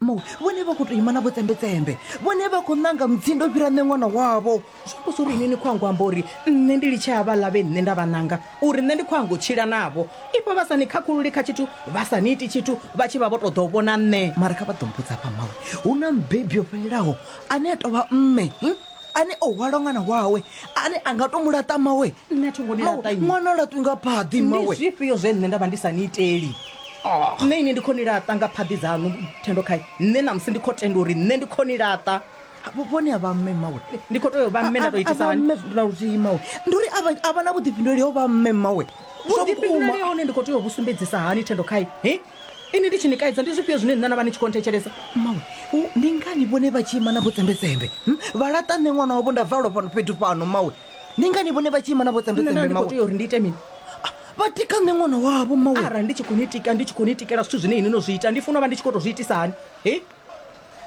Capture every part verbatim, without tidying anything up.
Mawe vhone vha khou tou ima na vhotsembetsembe, vhone vha khou nanga mutsindo fhira nṋe ṅwana wavho. Zwi amba uri ini ni khou ango amba uri nṋe ndi litshe havhaḽa vhe nṋe nda vha nanga, uri nṋe ndi khou ango tshila navho. Ifha vha sa ni khakhululi kha tshithu, vha sa ni iti tshithu, vha tshi vha vho ṱoḓa u vhona nṋe. Mara kha vha ḓo mbudza hafha mawe, hu na mubebi yo fhelelaho ane a tou vha mme, hm? ane o hwala ṅwana wawe, ane a nga to mu laṱa mawe. Nṋe a thi ngo ni laṱa inwi. Ṅwana o laṱwi nga phaḓi Ndi mawe. zwifhio zwe nṋe nda vha ndi sa ni iteli? Nṋe ini ndi khou ni laṱa nga phaḓi dzaṋu, Thendo khai. Nṋe ṋamusi ndi khou tenda uri nṋe ndi khou ni laṱa. Vhone a vha mme mawe. Ndi khou tea u vha mme nda tou itisa A vha hani? mme na luthihi mawe. Ndi uri a vha a vha na vhuḓifhinduleli ho vha mme mawe. Zwa vhukuma. Vhuḓifhinduleli hone ndi khou tea u vhu sumbedzisa hani, Thendo khai? He? Ini ndi tshi ni kaidza ndi zwifhio zwine nṋe na vha ni tshi khou nthetshelesa? Mawe, hu- ndi ngani vhone vha tshi ima na vhotsembetsembe? Hm? Vha laṱa nṋe ṅwana wavho nda valwa fhano fhethu fhano mawe. Ndi ngani vhone vha tshi ima na Nṋe nda vhotsembetsembe ndi khou mawe? tea uri ndi ite mini? Ah, Vha tika nṋe ṅwana wavho mawe. Arali ndi tshi khou ni tika, ndi tshi khou ni tikela zwithu zwine inwi no zwi ita, ndi funa u vha ndi tshi khou tou zwi itisa hani? He?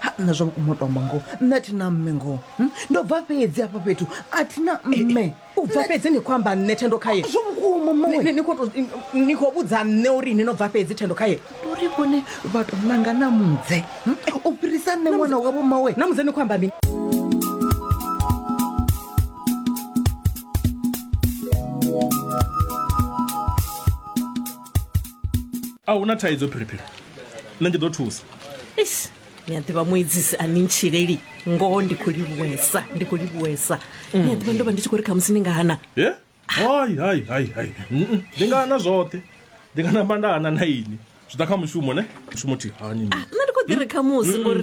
Ha, nṋe zwa vhukuma u to amba ngoho, nṋe a thi na mme ngoho. Hm? Ndo bva fhedzi hafha fhethu, a thi na mme. U bva fhedzi ni khou amba nṋe, Thendo khaye? Zwa vhukuma mawe. Ni, ni khou tou, ni khou vhudza nṋe uri ini no bva fhedzi, Thendo khaye? Ndi uri vhone vha to nanga na mudze, hm? u fhirisa nṋe ṅwana wavho mawe. Na mudze ni khou amba mini? A huna thaidzo phiriphiri, nṋe ndi ḓo thusa. Eish, ni a ḓivha muedzisi a ni ntshileli ngoho, ndi khou livhuwesa, ndi khou livhuwesa. Ni a ḓivha ndo vha ndi tshi khou ri khamusi ni nga hana. Ye? Hai hai hai hai. Mm, Ndi nga hana zwoṱhe. Ndi nga namba nda hana na ini. Zwi ḓa kha mushumo ne? Mushumo thi hani ni. Nṋe ndi khou ḓi ri khamusi ngori